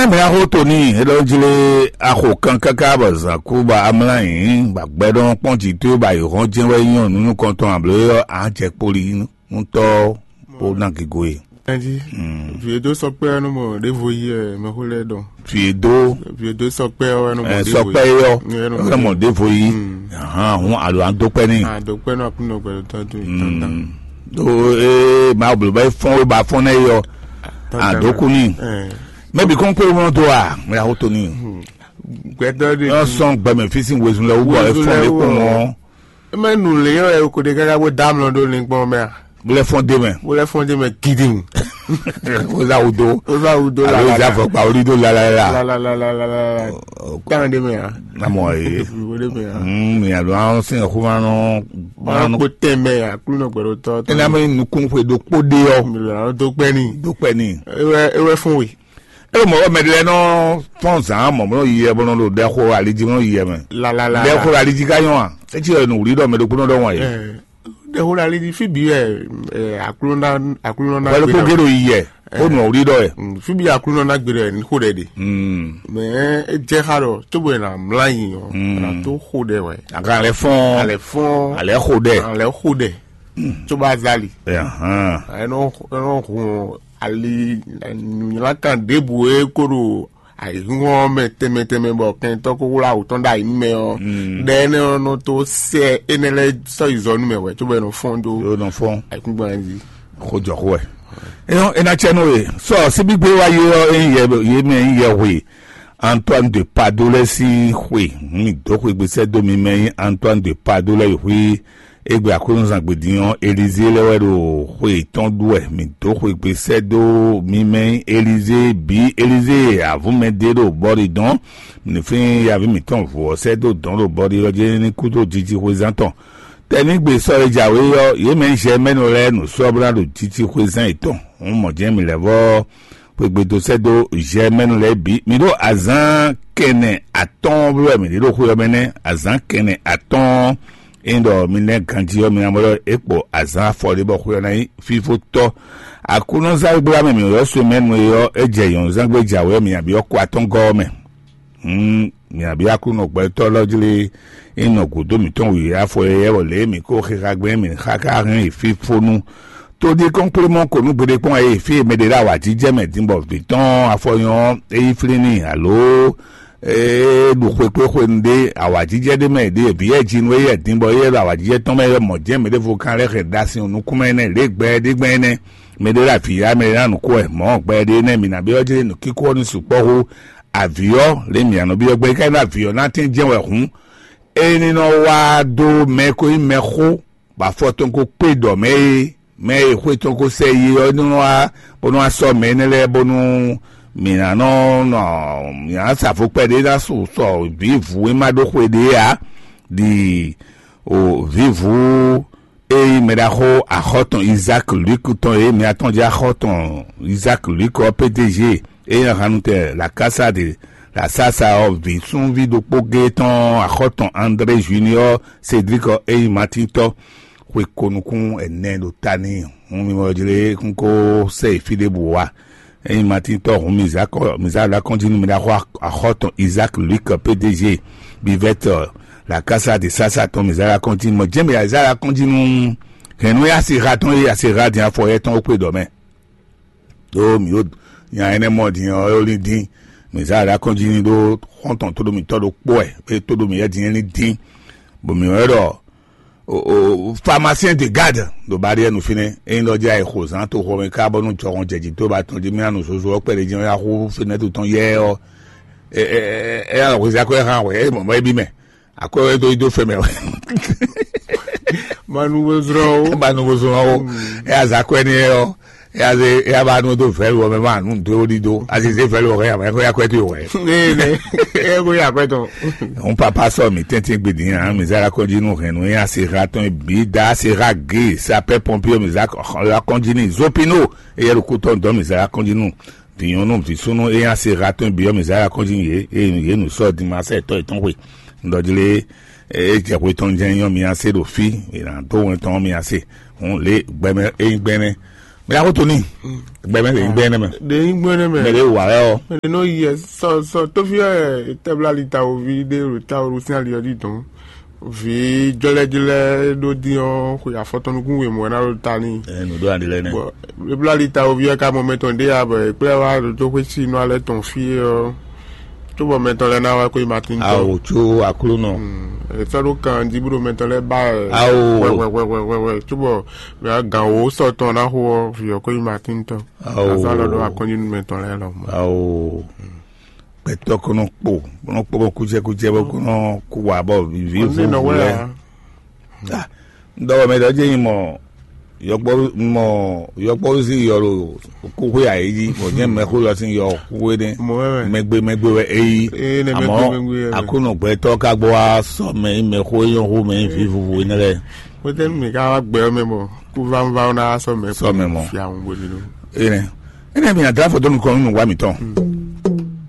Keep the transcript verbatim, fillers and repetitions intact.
Eme axo to n'i, é ɖɔ jlé axo kan káká bɔ zǎn kú bɔ amlá yǐ, bɔ agbɛɖɔ́ kpɔ́n jǐ towe bɔ ayǐhɔ́n jɛ́n wɛ nyí ɔ́, nǔ nukɔntɔn abló é ɔ́, á jɛ kpoli nú tɔ́ bó ná gigo e. Ɛnjí, vǐ e dó sɔkpɛ́ ɔ́ nɔ mɔ ɖěvo yí wɛ mɛxó lɛ́ɛ ɖɔ. Vǐ e dó Vǐ e dó sɔkpɛ́ ɔ́ wɛ nɔ mɔ ɛ, ɖěvo sɔkpɛ́ yí. É ɔ́, É nɔ mɔ é nɔ mɔ ɖěvo yí. Ahan, hun alo an dó kpɛ́ n'i. Àdókpɛ́ nɔ Aklúnɔ gbɛdɔtɔ́ dó yi dandan. Ɖó ee ma bló bɛ fɔ́n wé ba fɔ́n nɛ yɔ. Àdókù n'i. Mɛbi kɔn kpé wọn dó a mɛ awo tó ni. Gbɛdɔ de. Yɔ sɔn gbɛmɛ fi sin wezun lɛ wúbɔ ɛ Wezun fɔn lɛ lé wú kpɔn ɔ. Ɔn. Eme nu lě yɔ ɛ ko ɖe káká bó dá amlɔ ɖó ní gbɔn mɛ a? Bó lɛ fɔn dé mɛ. Bó lɛ fɔn dé mɛ gidi. Ó zá wudo. Ó zá wudo. Alo la ó zá fɔ gba orí dó la la la. La la la la la la. Tán ɖé mɛ a? Namɔ ye. Wo ɖé mɛ a? Hmm, mi alo an sin xuma nɔ. Wọn kpó tɛn mɛ a kúlú nɔ gbɛdɔ tɔ. Ena mi nukun xwe ɖokpó ɖe ɔ. Mi lò àwọn tó pẹ́ ní. Dó pẹ́ ní. Ewé ewé fún we. E mɔ wɛ mɛ ɖe lɛ nɔ fɔn zan mɔ bɔ nɔ yi yɛ bɔ nɔ ɖo ɖɛ xo ali jí bɔ nɔ yi yɛ mɛ. La la la. Ɖɛ xo ali jí ka nyɔ a? Etsi yɛ nu wuli ɖɔ mɛ ɖokpó nɔ ɖɔ wɔn ye. Ɖe xo ali jí fi bi wɛ aklúnɔ aklúnɔ na Wɛlɛ kó gé ɖo yi yɛ. Ó nɔ wuli ɖɔ yɛ. Fi bi aklúnɔ na gbe ɖɔ ní xo ɖɛ ɖe. Mɛ e jɛ xa ɖɔ tó bɔ na mla yi ɔ na tó xo ɖɛ wɛ. Aga lɛ fɔn. Alɛ fɔn. Alɛ xo ɖɛ. Alɛ xo ɖɛ. Tó bá zali. Ahan. Ɛnɔ ɛnɔ hun ali nunyilankan ɖěbǔ e kó ɖo ayǐhúnhɔn mɛ tɛnmɛ tɛnmɛ bɔ kɛntɔ́ kó wlá wǔ tɔn ɖo ayǐ nú mɛ ɔ́, ɖɛ énɛ́ ɔ́ nɔ tó sɛ énɛ́ lɛ́ɛ sɔ́ yi zɔ nú mɛ wɛ cóbɔ é nɔ fɔ́n dó Yóò nɔ fɔ́n. Ayǐkúngban jí. Xó jɔ xó wɛ. Éyɔ́ é ná cɛ nú we. Sɔ síbígbé wá yé ɔ́ é nyí yɛ yé mɛ nyí yɛhwe Antoine de Padolet sín xwe. Mi dǒ xwegbe sɛ́ dó mi mɛ nyí Antoine de Padolet yi xwí. Égbé Aklúnɔzán gbedin ɔ́, Elizée lɛ́ wɛ ɖo xwe yětɔn ɖu wɛ. Mǐ dó xwegbe sɛ́ dó mi mɛ nyí Elizée bǐ. Elizée avǔ mɛ ɖé ɖo bɔ́ ɖi dɔn. Mǐ ní flín yaví mǐtɔn vǔ ɔ́ sɛ́ dó dɔ̌n ɖo bɔ́ ɖi ɔ́ jí ní kú dó jijixwezán tɔn. Tɛnígbe sɔ́ e jǎwe ɔ́, yě mɛ nyí Zɛmɛ́nu lɛ́ɛ nǔ sɔ́ bó ná ɖo jijixwezán yětɔn. Hǔn mɔ̌ jɛ́n mǐ lɛ́ vɔ́ xwegbe dó sɛ́ dó Zɛmɛ́nu lɛ́ɛ bǐ. Mǐ ɖo azǎn kɛnɛ atɔ́ɔ́n bló wɛ mǐ ɖe ɖo xwe ɔ́ mɛ nɛ́. Azǎn kɛnɛ atɔ́ɔ́n. Ényí ɖɔ mi lɛ́ ganjí ɔ́, mi ná mɔ ɖɔ é kpo azǎn afɔ ɖé bɔ xwe ɔ́ ná nyí fífótɔ́. Aklúnɔzán e gbla mɛ mǐ ylɔ́ semɛnu é ɔ́, é jɛ nyɔ̌nuzángbe jǎwe ɔ́, mǐ nǎ byɔ́ kɔ atɔ́ngɔ́ ɔ́ mɛ. Hǔn mǐ nǎ byɔ́ Aklúnɔ gbɛtɔ́ lɔ́ jlé é nɔ gǔdo mǐtɔn wǐwá afɔ éyɛ́ bɔ lě e mǐ ko xixa gbɛn mǐ xá ká hɛn yi fífó nú. Tó ɖíe kɔ́nkplémɔ ko nú gbeɖé kpɔ́n ɛ fí e mɛ ɖé ɖo awǎjijɛ mɛ din bɔ vǐ tɔn afɔ nyɔ́ ɔ́, é yí flín n'i alo é ɖu xwekpéxwenu ɖé awǎjijɛ ɖé mɛ ɖě vǐ yɛ jinu éyɛ́ din bɔ éyɛ́ ɖo awǎjijɛ tɔn mɛ wɛ mɔ̌ jɛ́n mɛ ɖěvo kan lɛ́ hɛn ɖo asi nukún mɛ nɛ́ lě gbɛ ɖé gbɛn nɛ́. Mɛ ɖé ɖo avǐ ya mɛ ɖé ná nǔ kó wɛ mɔ̌ gbɛ ɖé nɛ́ mǐ ná byɔ́ jlé nǔkíkó ɔ́ ní sukpɔ́ hú avǐ ɔ́ lě mǐ nɔ byɔ́ gbɛ é ka nyí ɖɔ avǐ ɔ́ ná tín jɛ́n wɛ hǔn é ní nɔ wá dó mɛ ko nyí mɛxó bɔ afɔ tɔn ko kpé ɖɔ mɛ e mɛ e xwé tɔn ko sɛ yi ɔ́ nɔ wá bónú wá sɔ́ mɛ énɛ́ lɛ́ɛ bónú mǐ ná nɔ nɔ mǐ ná sa vo kpɛɖé ná su sɔ vǐ vǔ e ma ɖó xwe ɖě ǎ ɖi o vǐvǔ e nyí mɛɖaxó axɔ́tɔn Isaac Luc tɔn e mǐ atɔn jɛ axɔ́tɔn Isaac Luc ɔ́ P D G e nyí ahanutɛ la Casa de la Sasa ɔ́ vǐ súnví ɖokpó gé tɔn axɔ́tɔn André Junior Cédric ɔ́ e nyí Martin tɔ́ xwe ko nukún ɛnɛ ɖo ta n'i. Hǔn mi mɔ jlé kún kó sɛ yi fí ɖěbǔ wá. Ényí Martin tɔ́ hǔn mi zǎ kɔ mi zǎ ɖo akɔ́njí nú mi ɖaxó axɔ́tɔn Isaac Luc P D G Bivette la Casa de Sasa tɔn mi zǎ ɖo akɔ́njí nú mɔ jɛ́n mi zǎ ɖo akɔ́njí nú hɛ̌nnu e asi ha tɔn e asi ha din afɔ yɛ tɔn ó kpe ɖɔ mɛ. Ɖó mǐ ɖo nya énɛ́ mɔ din ɔ́ é lí dín. Mǐ zǎ ɖo akɔ́njí nú ɖó xɔ́ntɔn tóɖó mitɔ́ ɖokpó wɛ é tóɖó mǐ yɛ din é lí dín. Bɔ mǐ wɛ ɖɔ o o pharmacien de garde ɖo barrière nu fínɛ́. Ényí ɖɔ jɛ ayǐ xo zán toxo mɛ ká bɔnu jɔhɔn jɛ jǐ tó ba tɔn jí mɛ anu zozo ɔ́ kpɛɖé jí ɔ́ yá xú fínɛ́ tɔn yɛ ɔ́. Ɛ ɛ ɛ ɛ hwezí akwɛ́ hán hwɛ é mɔmɔ é bí mɛ. Akwɛ́ wɛ dó yi dó fɛ mɛ. Manu bó zlɔ́n o. Manu bó zlɔ́n o. Ɛ azǎ kwɛ́ ní ɛ ɔ́. Yaze yaba nu do vɛlu wɔ mɛ ma nu do ɖi do azize vɛlu wɔ ya mɛ ko ya kwɛ to wɛ. Ee ne e ko ya kwɛ tɔn. Un papa sɔ mi tɛntin gbedi hã mi zara kɔji nu hɛn nu ya se ha tɔn bi da se ha ge sapɛ pɔnpier mi za la kɔji ni zopino eye ɖo kutɔ dɔ mi zara kɔji nu vinyɔnu visunu eya se ha tɔn bi mi zara kɔji ye ye nu sɔ di ma sɛ tɔ etɔn hwe ndɔjile e jɛ hwe tɔn jɛ nyɔ mi ase ɖo fi ena do wɛn tɔn mi ase hun le gbɛmɛ eyin gbɛmɛ Mɛ ɖaxó Tony, gbɛ mɛ lè gbɛ nɛ mɛ. Ɖe nyí gbɛ́nɛ mɛ. Mɛ ɖe wà wɛ ɔ. Mɛ ɖe nɔ yi ɛ sɔ sɔ tófí ɛ tɛbla lita wo vi ɖe ɖo ta wo sín ali ɔdí dɔn. Vi jɔlɛjɔlɛ ɖo dín ɔ xwe afɔtɔnukún we mɔ ná ɖo ta ní. Ɛ nǔ ɖó aɖi lɛ nɛ. Bɔ ebla lita wo vi ɔ ka mɔ mɛ tɔn ɖe ya bɔ ekplɛ wa ɖo tó xwe sí nɔ alɛ tɔn fí ɔ. Tó bɔ mɛ tɔn lɛ ná wá kó yi Martin tɔn. Awo tso Aklúnɔ. Etsɔ ɖo kan jí bó ɖo mɛ tɔn lɛ ba ɛ. Awo. Wɛ wɛ wɛ wɛ wɛ wɛ. Tó bɔ mɛ gan wo sɔ tɔn ná xo ɔ vi ɔ kó yi Martin tɔn. Awo. Azɔ alɔ ɖo akɔnyi nu mɛ tɔn lɛ lɔ. Awo. Gbɛtɔ́ kɔnɔ kpo, kɔnɔ kpo bɔ kújɛ kújɛ bɔ kɔnɔ kú wà bɔ vivi Ɔn ní nɔ wɛ vuvɛ. Ya. Dɔwɔ mɛ dɔ jɛ nyi mɔ yɔkpɔ mɔ yɔkpɔ si yɔ lo kúkú yà yí jí bɔ jẹ́ mɛ kó lɔ sí yɔ kúkú é dé. Mɔ wɛ wɛ. Mɛgbe mɛgbe wɛ é yí. Ee, ne mɛgbe mɛgbe wɛ. Àmọ́ àkónɔ gbɛtɔ́ ká gbọ́ wá sɔ mɛ yí mɛ xó yɔn xó mɛ yí vi vuvu énɛ́ lɛ́ɛ. Wétɛ́nu mi ká wá gbɛ ɔ́ mɛ mɔ kúvánvá ɔ́ ná wá sɔ mɛ Sɔ mɛ mɔ. Fia ŋun bó ní nú. Énɛ́ énɛ́ mi àdá fɔtɔ́ nukɔn nínú wa mǐtɔn.